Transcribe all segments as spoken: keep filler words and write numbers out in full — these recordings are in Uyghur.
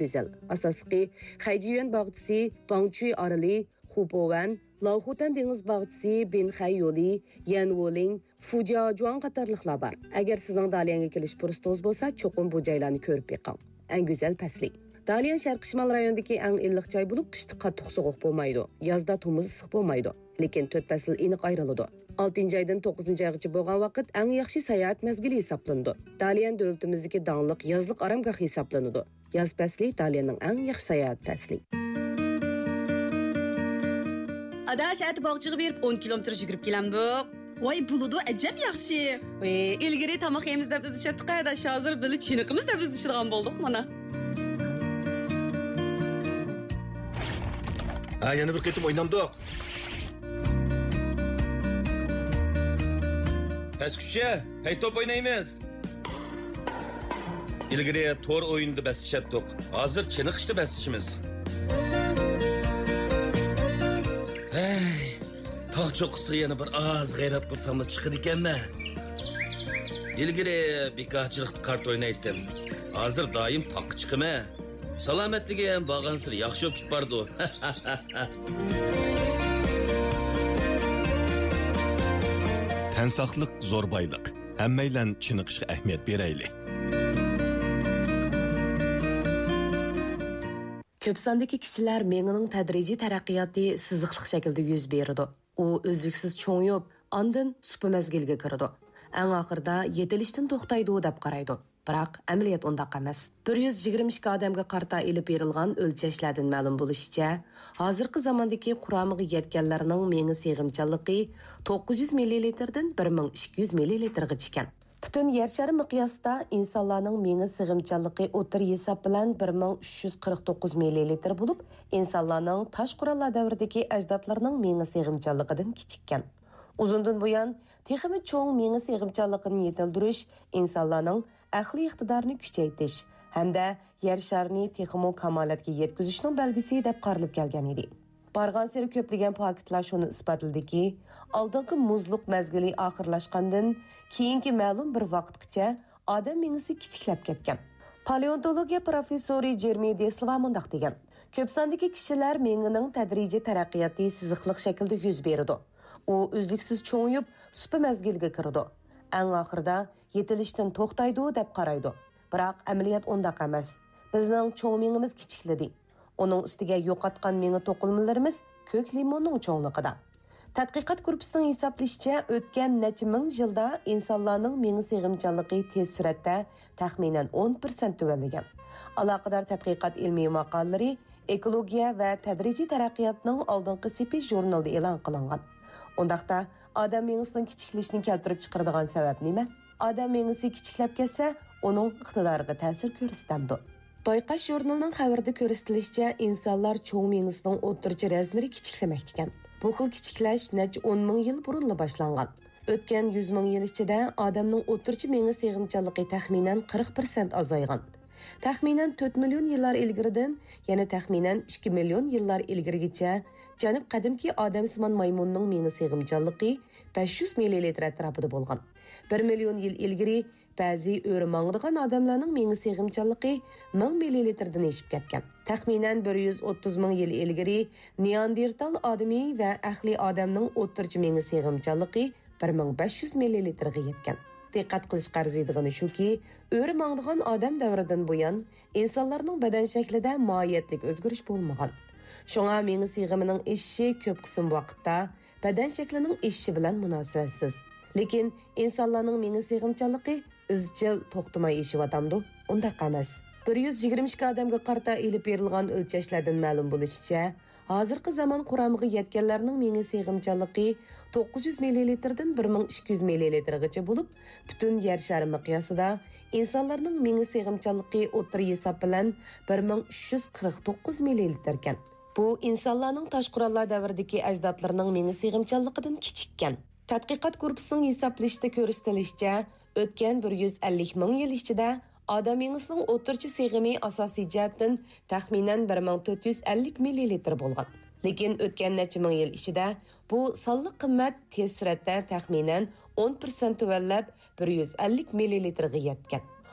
گۈزەل. ئاساسلىقى خەيجيۈەن باغچىسى، باڭچۈي ئارىلى، خۇپوۋەن، لاۋخۇتەن دېڭىز باغچىسى، بىنخەي يولى، يەنۋولىڭ، فۇجياجۇاڭ قاتارلىقلار بار. ئەگەر سىزنىڭ داليەنگە كېلىش پۇرسىتىڭىز بولسا، چوقۇم بۇ جايلارنى كۆرۈپ بېقىڭ. ئەڭ گۈزەل پەسلى. داليەن شەرقىي شىمال رايونىدىكى ئەڭ ئىللىق جاي بولۇپ، قىشتا قاتتىق سوغۇق بولمايدۇ، يازدا تومۇز ئىسسىق بولمايدۇ. لېكىن تۆت پەسىل ئېنىق ئايرىلىدۇ. ئالتىنچى ئايدىن توققۇزىنچى ئايغىچە بولغان ۋاقىت ئەڭ ياخشى ساياھەت مەزگىلى ھېسابلىنىدۇ. داليەن دۆلىتىمىزدىكى داڭلىق يازلىق ئارامگاھ ھېسابلىنىدۇ. ياز پەسلى داليەننىڭ ئەڭ ياخشى ساياھەت پەسلى. ئاداش، ئەتە باغچىغا بېرىپ ئون كىلومېتىر يۈگۈرۈپ كېلەمدۇق. ۋاي، بولىدۇ، ئەجەب ياخشى. ۋەي، ئىلگىرى تاماق يەيمىز دەپ ئىزدىشەتتۇق ئاداش، ھازىر بىللە چېنىقىمىز دەپ ئىزدىشىدىغان بولدۇق مانا. ھە، يەنە بىر قېتىم ئوينامدۇق. پەسكۈچە، ھەي توپ ئوينايمىز. ئىلگىرى تور ئويۇندا بەسلىشەتتۇق. ھازىر چېنىقىشتا بەسلىشىمىز. ھەي، تاغ چوققىسىغا يەنە بىر ئاز غەيرەت قىلساممۇ چىقىدىكەنمەن. ئىلگىرى بىكارچىلىقتا قارت ئوينايتتىم. ھازىر دائىم تاغقا چىقىمەن. سالامەتلىكىم بارغانسېرى ياخشى بولۇپ كېتىپ بارىدۇ. تەن ساقلىق زور بايلىق. ھەممەيلەن چېنىقىشقا ئەھمىيەت بېرەيلى. كۆپ ساندىكى كىشىلەر مېڭىنىڭ تەدرىجىي تەرەققىياتى سىزىقلىق شەكىلدە يۈز بېرىدۇ. ئۇ ئۈزلۈكسىز چوڭىيىپ، ئاندىن سۇپا مەزگىلىگە كىرىدۇ. ئەڭ ئاخىرىدا يېتىلىشتىن توختايدۇ دەپ قارايدۇ. بىراق ئەمەلىيەت ئۇنداق ئەمەس. بىر يۈز يىگىرمە ئىككى ئادەمگە قارىتا ئېلىپ بېرىلغان ئۆلچەشلەردىن مەلۇم بولۇشىچە، ھازىرقى زاماندىكى قۇرامىغا يەتكەنلەرنىڭ مېڭە سىغىمچانلىقى توققۇز يۈز مىللىلىتىردىن بىر مىڭ ئىككى يۈز مىللىلىتىرغىچە ئىكەن. پۈتۈن يەر شارى مىقياسىدا ئىنسانلارنىڭ مېڭە سىغىمچانلىقى ئوتتۇرا ھېساب بىلەن بىر مىڭ ئۈچ يۈز قىرىق توققۇز مىللىلىتىر بولۇپ، ئىنسانلارنىڭ تاش قوراللار دەۋرىدىكى ئەجدادلىرىنىڭ مېڭە سىغىمچانلىقىدىن كىچىككەن. ئۇزۇندىن بۇيان، تېخىمۇ چوڭ مېڭە سىغىمچانلىقىنى يېتىلدۈرۈش ئىنسانلارنىڭ ئەقلىي ئىقتىدارىنى كۈچەيتىش ھەمدە يەر شارىنى تېخىمۇ كامالەتكە يەتكۈزۈشنىڭ بەلگىسى دەپ قارىلىپ كەلگەن ئىدى. بارغانسېرى كۆپلىگەن پاكىتلار شۇنى ئىسپاتلىدىكى، ئالدىنقى مۇزلۇق مەزگىلى ئاخىرلاشقاندىن كېيىنكى مەلۇم بىر ۋاقىتقىچە ئادەم مېڭىسى كىچىكلەپ كەتكەن. پالېئونتولوگىيە پروفېسسورى جېرېمى دېسلىۋا مۇنداق دېگەن: كۆپ ساندىكى كىشىلەر مېڭىنىڭ تەدرىجىي تەرەققىياتى سىزىقلىق شەكىلدە يۈز بېرىدۇ. ئۇ ئۈزلۈكسىز چوڭىيىپ، سۇپا مەزگىلىگە كىرىدۇ. ئەڭ ئاخىرىدا يېتىلىشتىن توختايدۇ دەپ قارايدۇ. بىراق ئەمەلىيەت ئۇنداق ئەمەس. بىزنىڭ چوڭ مېڭىمىز كىچىكلىدى. ئۇنىڭ ئۈستىگە يوقاتقان مېڭە توقۇلمىلىرىمىز كۆك لىموننىڭ چوڭلۇقىدا. تەتقىقات گۇرۇپپىسىنىڭ ھېسابلىشىچە، ئۆتكەن نەچچە مىڭ يىلدا ئىنسانلارنىڭ مېڭە سىغىمچانلىقى تېز سۈرئەتتە تەخمىنەن ئون پىرسەنت تۆۋەنلىگەن. ئالاقىدار تەتقىقات ئىلمىي ماقالىلىرى ئېكولوگىيە ۋە تەدرىجىي تەرەققىياتنىڭ ئالدىنقى سېپى ژۇرنىلىدا ئېلان قىلىنغان. ئۇنداقتا، ئادەم مېڭىسىنىڭ كىچىكلىشىنى كەلتۈرۈپ چىقىرىدىغان سەۋەب نېمە؟ ئادەم مېڭىسى كىچىكلەپ كەتسە، ئۇنىڭ ئىقتىدارىغا تەسىر كۆرسىتەمدۇ؟ بايقاش ژۇرنىلىنىڭ خەۋىرىدە كۆرسىتىلىشىچە، ئىنسانلار چوڭ مېڭىسىنىڭ ئوتتۇرىچە رەزمىرى كىچىكلىمەكتىكەن. بۇ خىل كىچىكلەش نەچچە ئون مىڭ يىل بۇرۇنلا باشلانغان. ئۆتكەن يۈز مىڭ يىل ئىچىدە ئادەمنىڭ ئوتتۇرىچە مېڭە سىغىمچانلىقى تەخمىنەن قىرىق پىرسەنت ئازايغان. تەخمىنەن تۆت مىليون يىللار ئىلگىرىدىن يەنە تەخمىنەن ئىككى مىليون يىللار ئىلگىرىگىچە جەنۇب قەدىمكى ئادەمسىمان مايمۇننىڭ مېڭە سىغىمچانلىقى بەش يۈز مىللىلىتىر ئەتراپىدا بولغان. بىر مىليون يىل ئىلگىرى بەزى ئۆرە ماڭىدىغان ئادەملەرنىڭ مېڭە سىغىمچانلىقى مىڭ مىللىلىتىردىن ئېشىپ كەتكەن. تەخمىنەن بىر يۈز ئوتتۇز مىڭ يىل ئىلگىرى نېئاندېرتال ئادىمى ۋە ئەقلىي ئادەمنىڭ ئوتتۇرىچە مېڭە سىغىمچانلىقى بىر مىڭ بەش يۈز مىللىلىتىرغا يەتكەن. دىققەت قىلىشقا ئەرزىيدىغىنى شۇكى، ئۆرە ماڭىدىغان ئادەم دەۋرىدىن بۇيان، ئىنسانلارنىڭ بەدەن شەكلىدە ماھىيەتلىك ئۆزگىرىش بولمىغان. شۇڭا مېڭە سىغىمىنىڭ ئېشىشى كۆپ قىسىم ۋاقىتتا بەدەن شەكلىنىڭ ئېشىشى بىلەن مۇناسىۋەتسىز. لېكىن ئىنسانلارنىڭ مېڭە سىغىمچانلىقى ئىزچىل توختىماي ئېشىۋاتامدۇ؟ ئۇنداق ئەمەس. بىر يۈز يىگىرمە ئىككى ئادەمگە قارىتا ئېلىپ بېرىلغان ئۆلچەشلەردىن مەلۇم بولۇشىچە، ھازىرقى زامان قۇرامىغا يەتكەنلەرنىڭ مېڭە سىغىمچانلىقى توققۇز يۈز مىللىلىتىردىن بىر مىڭ ئىككى يۈز مىللىلىتىرغىچە بولۇپ، پۈتۈن يەر شارى مىقياسىدا ئىنسانلارنىڭ مېڭە سىغىمچانلىقى ئوتتۇرا ھېساب بىلەن بىر مىڭ ئۈچ يۈز قىرىق توققۇز مىللىلىتىركەن. بۇ ئىنسانلارنىڭ تاش قوراللار دەۋرىدىكى ئەجدادلىرىنىڭ مېڭە سىغىمچانلىقىدىن كىچىككەن. تەتقىقات گۇرۇپپىسىنىڭ ھېسابلىشىدا كۆرسىتىلىشىچە، ئۆتكەن بىر يۈز ئەللىك مىڭ يىل ئىچىدە ئادەم مېڭىسىنىڭ ئوتتۇرىچە سىغىمى ئاساسىي جەھەتتىن تەخمىنەن بىر مىڭ تۆت يۈز ئەللىك مىللىلىتىر بولغان. لېكىن ئۆتكەن نەچچە مىڭ يىل ئىچىدە بۇ سانلىق قىممەت تېز سۈرئەتتە تەخمىنەن ئون پىرسەنت تۆۋەنلەپ، بىر يۈز ئەللىك مىللىلىتىرغا يەتكەن.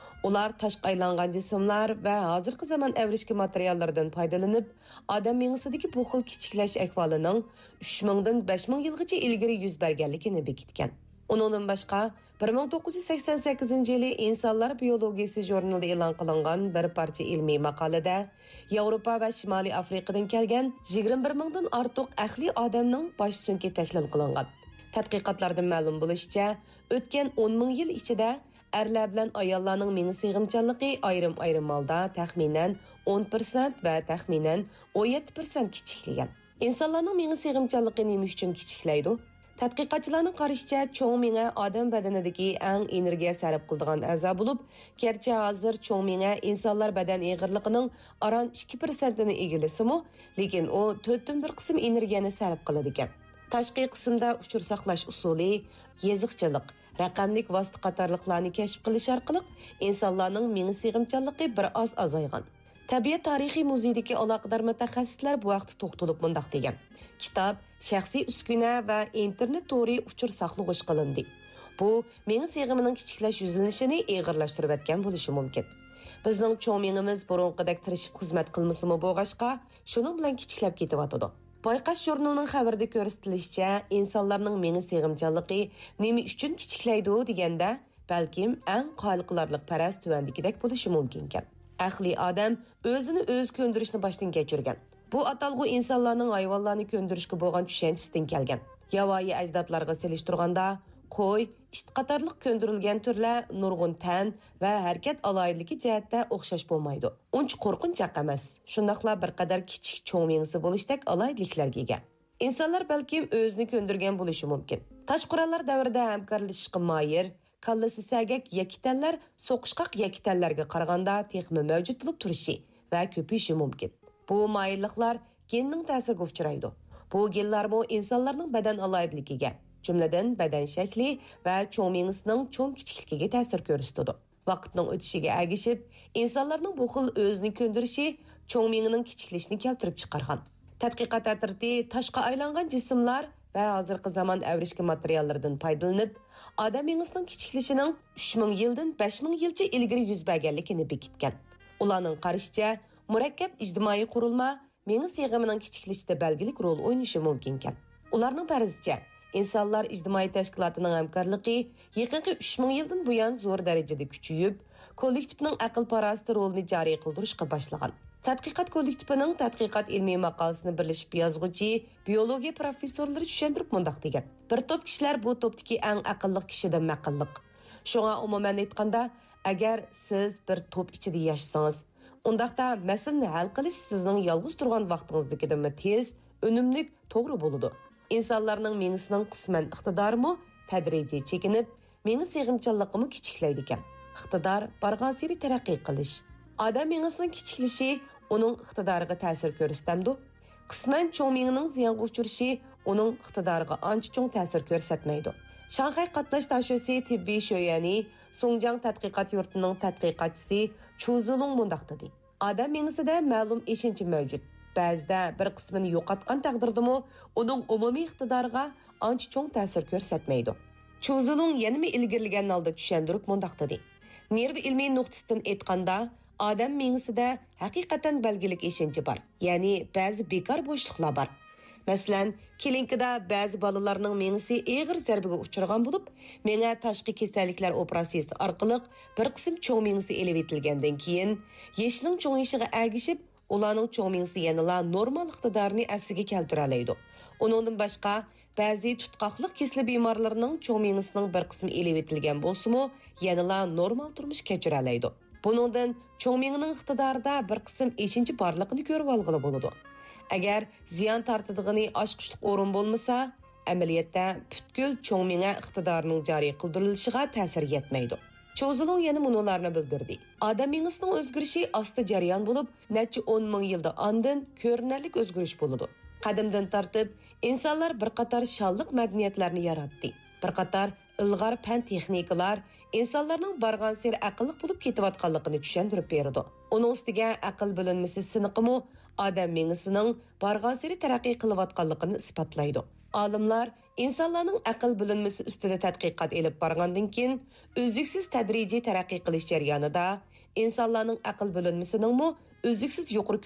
ئۇلار تاشقا ئايلانغان جىسىملار ۋە ھازىرقى زامان ئەۋرىشكە ماتېرىياللىرىدىن پايدىلىنىپ، ئادەم مېڭىسىدىكى بۇ خىل كىچىكلەش ئەھۋالىنىڭ ئۈچ مىڭدىن بەش مىڭ يىلغىچە ئىلگىرى يۈز بەرگەنلىكىنى بېكىتكەن. ئۇنىڭدىن باشقا، بىر مىڭ توققۇز يۈز سەكسەن سەككىزىنچى يىلى ئىنسانلار بىيولوگىيىسى ژۇرنىلىدا ئېلان قىلىنغان بىر پارچە ئىلمىي ماقالىدە، ياۋروپا ۋە شىمالىي ئافرىقىدىن كەلگەن يىگىرمە بىر مىڭدىن ئارتۇق ئەقلىي ئادەمنىڭ باش سۆڭىكى تەھلىل قىلىنغان. تەتقىقاتلاردىن مەلۇم بولۇشىچە، ئۆتكەن ئون مىڭ يىل ئىچىدە ئەرلەر بىلەن ئاياللارنىڭ مېڭە سىغىمچانلىقى ئايرىم-ئايرىم ھالدا تەخمىنەن ئون پىرسەنت ۋە تەخمىنەن ئون يەتتە پىرسەنت كىچىكلىگەن. ئىنسانلارنىڭ مېڭە سىغىمچانلىقى نېمە ئۈچۈن كىچىكلەيدۇ؟ تەتقىقاتچىلارنىڭ قارىشىچە، چوڭ مېڭە ئادەم بەدىنىدىكى ئەڭ ئېنېرگىيە سەرپ قىلىدىغان ئەزا بولۇپ، گەرچە ھازىر چوڭ مېڭە ئىنسانلار بەدەن ئېغىرلىقىنىڭ ئاران ئىككى پىرسەنتىنى ئىگىلىسىمۇ، لېكىن ئۇ تۆتتىن بىر قىسىم ئېنېرگىيەنى سەرپ قىلىدىكەن. تاشقى قىسىمدا ئۇچۇر ساقلاش ئۇسۇلى، يېزىقچىلىق، رەقەملىك ۋاسىتە قاتارلىقلارنى كەشىپ قىلىش ئارقىلىق ئىنسانلارنىڭ مېڭە سىغىمچانلىقى بىر ئاز ئازايغان. تەبىئەت تارىخىي مۇزېيىدىكى ئالاقىدار مۇتەخەسسىسلەر بۇ ھەقتە توختىلىپ مۇنداق دېگەن: كىتاب، شەخسىي ئۈسكۈنە ۋە ئىنتېرنېت تورى ئۇچۇر ساقلىغۇچ قىلىندى. بۇ مېڭە سىغىمىنىڭ كىچىكلەش يۈزلىنىشىنى ئېغىرلاشتۇرۇۋەتكەن بولۇشى مۇمكىن. بىزنىڭ چوڭ مېڭىمىز بۇرۇنقىدەك تىرىشىپ خىزمەت قىلمىسىمۇ بولغاچقا، شۇنىڭ بىلەن كىچىكلەپ كېتىۋاتىدۇ. بايقاش ژۇرنىلىنىڭ خەۋىرىدە كۆرسىتىلىشىچە، ئىنسانلارنىڭ مېڭە سىغىمچانلىقى نېمە ئۈچۈن كىچىكلەيدۇ دېگەندە، بەلكىم ئەڭ قايىل قىلارلىق پەرەز تۆۋەندىكىدەك بولۇشى مۇمكىنكەن. ئەقلىي ئادەم ئۆزىنى ئۆزى كۆندۈرۈشنى باشتىن كەچۈرگەن. بۇ ئاتالغۇ ئىنسانلارنىڭ ھايۋانلارنى كۆندۈرۈشكە بولغان چۈشەنچىسىدىن كەلگەن. ياۋايى ئەجدادلارغا سېلىشتۇرغاندا، قوي، ئىت قاتارلىق كۆندۈرۈلگەن تۈرلەر نۇرغۇن تەن ۋە ھەرىكەت ئالاھىدىلىكى جەھەتتە ئوخشاش بولمايدۇ. ئۇنچە قورقۇنچاق ئەمەس، شۇنداقلا بىر قەدەر كىچىك چوڭ مېڭىسى بولۇشتەك ئالاھىدىلىكلەرگە ئىگە. ئىنسانلار بەلكىم ئۆزىنى كۆندۈرگەن بولۇشى مۇمكىن. تاش قوراللار دەۋرىدە ھەمكارلىشىشقا ماھىر، كاللىسى سەگەك يەككە تەنلەر سوقۇشقاق يەككە تەنلەرگە قارىغاندا تېخىمۇ مەۋجۇت بولۇپ تۇرۇشى ۋە كۆپىيىشى مۇمكىن. بۇ مايىللىقلار گېننىڭ تەسىرىگە ئۇچرايدۇ. بۇ گېنلارمۇ ئىنسانلارنىڭ بەدەن ئالاھىدىلىكىگە، جۈملىدىن بەدەن شەكلى ۋە چوڭ مېڭىسىنىڭ چوڭ كىچىكلىكىگە تەسىر كۆرسىتىدۇ. ۋاقىتنىڭ ئۆتۈشىگە ئەگىشىپ، ئىنسانلارنىڭ بۇ خىل ئۆزىنى كۆندۈرۈشى چوڭ مېڭىنىڭ كىچىكلىشىنى كەلتۈرۈپ چىقارغان. تەتقىقات ئەترىتى تاشقا ئايلانغان جىسىملار ۋە ھازىرقى زامان ئەۋرىشكە ماتېرىياللىرىدىن پايدىلىنىپ، ئادەم مېڭىسىنىڭ كىچىكلىشىنىڭ ئۈچ مىڭ يىلدىن بەش مىڭ يىلچە ئىلگىرى يۈز بەرگەنلىكىنى بېكىتكەن. ئۇلارنىڭ قارىشىچە، مۇرەككەپ ئىجتىمائىي قۇرۇلما مېڭە سىغىمىنىڭ كىچىكلىشىشتە بەلگىلىك رول ئوينىشى مۇمكىنكەن. ئۇلارنىڭ پەرىزىچە، ئىنسانلار ئىجتىمائىي تەشكىلاتىنىڭ ھەمكارلىقى يېقىنقى ئۈچ مىڭ يىلدىن بۇيان زور دەرىجىدە كۈچىيىپ، كوللېكتىپنىڭ ئەقىل-پاراسىتى رولىنى جارى قىلدۇرۇشقا باشلىغان. تەتقىقات كوللېكتىپىنىڭ تەتقىقات ئىلمىي ماقالىسىنى بىرلىشىپ يازغۇچى بىيولوگىيە پروفېسسورلىرى چۈشەندۈرۈپ مۇنداق دېگەن: بىر توپ كىشىلەر بۇ توپتىكى ئەڭ ئەقىللىق كىشىدىن مەقىللىق. شۇڭا، ئومۇمەن ئېيتقاندا، ئەگەر سىز بىر توپ ئىچىدە ياشىسىڭىز، ئۇنداقتا مەسىلىنى ھەل قىلىش سىزنىڭ يالغۇز تۇرغان ۋاقتىڭىزدىكىدىنمۇ تېز، ئۈنۈملۈك، توغرا بولىدۇ. ئىنسانلارنىڭ مېڭىسىنىڭ قىسمەن ئىقتىدارىمۇ تەدرىجىي چېكىنىپ، مېڭە سىغىمچانلىقىمۇ كىچىكلەيدىكەن. ئىقتىدار بارغانسېرى تەرەققىي قىلىش. ئادەم مېڭىسىنىڭ كىچىكلىشى ئۇنىڭ ئىقتىدارىغا تەسىر كۆرسىتەمدۇ؟ قىسمەن چوڭ مېڭىنىڭ زىيانغا ئۇچرىشى ئۇنىڭ ئىقتىدارىغا ئانچە چوڭ تەسىر كۆرسەتمەيدۇ. شاڭخەي قاتناش داشۆسى تېببىي شۆيۈەنى سۇڭجياڭ تەتقىقات يۇرتىنىڭ تەتقىقاتچىسى چۇ زىلۇڭ مۇنداق دېدى: ئادەم مېڭىسىدە مەلۇم ئېشىنچا مەۋجۇت. بەزىدە بىر قىسمىنى يوقاتقان تەقدىردىمۇ ئۇنىڭ ئومۇمىي ئىقتىدارىغا ئانچە چوڭ تەسىر كۆرسەتمەيدۇ. چۇ زىلۇڭ يەنىمۇ ئىلگىرىلىگەن ھالدا چۈشەندۈرۈپ مۇنداق دېدى: نېرۋا ئىلمىي نۇقتىسىدىن ئېيتقاندا، ئادەم مېڭىسىدە ھەقىقەتەن بەلگىلىك ئېشىنچا بار، يەنى بەزى بىكار بوشلۇقلار بار. مەسىلەن، كلىنىكىدا بەزى بالىلارنىڭ مېڭىسى ئېغىر زەربىگە ئۇچرىغان بولۇپ، مېڭە تاشقى كېسەللىكلەر ئوپېراتسىيىسى ئارقىلىق بىر قىسىم چوڭ مېڭىسى ئېلىۋېتىلگەندىن كېيىن، يېشىنىڭ چوڭىيىشىغا ئەگىشىپ، ئۇلارنىڭ چوڭ مېڭىسى يەنىلا نورمال ئىقتىدارىنى ئەسلىگە كەلتۈرەلەيدۇ. ئۇنىڭدىن باشقا، بەزى تۇتقاقلىق كېسىلى بىمارلىرىنىڭ چوڭ مېڭىسىنىڭ بىر قىسمى ئېلىۋېتىلگەن بولسىمۇ، يەنىلا نورمال تۇرمۇش كەچۈرەلەيدۇ. بۇنىڭدىن چوڭ مېڭىنىڭ ئىقتىدارىدا بىر قىسىم ئېشىنچا بارلىقىنى كۆرۈۋالغىلى بولىدۇ. ئەگەر زىيان تارتىدىغىنى ئاچقۇچلۇق ئورۇن بولمىسا، ئەمەلىيەتتە پۈتكۈل چوڭ مېڭە ئىقتىدارىنىڭ جارى قىلدۇرۇلۇشىغا تەسىر يەتمەيدۇ. چۇ زىلۇڭ يەنە مۇنۇلارنى بىلدۈردى: ئادەم مېڭىسىنىڭ ئۆزگىرىشى ئاستا جەريان بولۇپ، نەچچە ئون مىڭ يىلدا ئاندىن كۆرۈنەرلىك ئۆزگىرىش بولىدۇ. قەدىمدىن تارتىپ، ئىنسانلار بىر قاتار شانلىق مەدەنىيەتلەرنى ياراتتى. بىر قاتار ئىلغار پەن-تېخنىكىلار، ئىنسانلارنىڭ بارغانسېرى ئەقىللىق بولۇپ كېتىۋاتقانلىقىنى چۈشەندۈرۈپ بېرىدۇ. ئۇنىڭ ئۈستىگە ئەقىل بۆلۈنمىسى سىنىقىمۇ ئادەم مېڭىسىنىڭ بارغانسېرى تەرەققىي قىلىۋاتقانلىقىنى ئىسپاتلايدۇ. ئالىملار ئىنسانلارنىڭ ئەقىل بۆلۈنمىسى ئۈستىدە تەتقىقات ئېلىپ بارغاندىن كېيىن، ئۈزلۈكسىز تەدرىجىي تەرەققىي قىلىش جەريانىدا ئىنسانلارنىڭ ئەقىل بۆلۈنمىسىنىڭمۇ ئۈزلۈكسىز يۇقىرى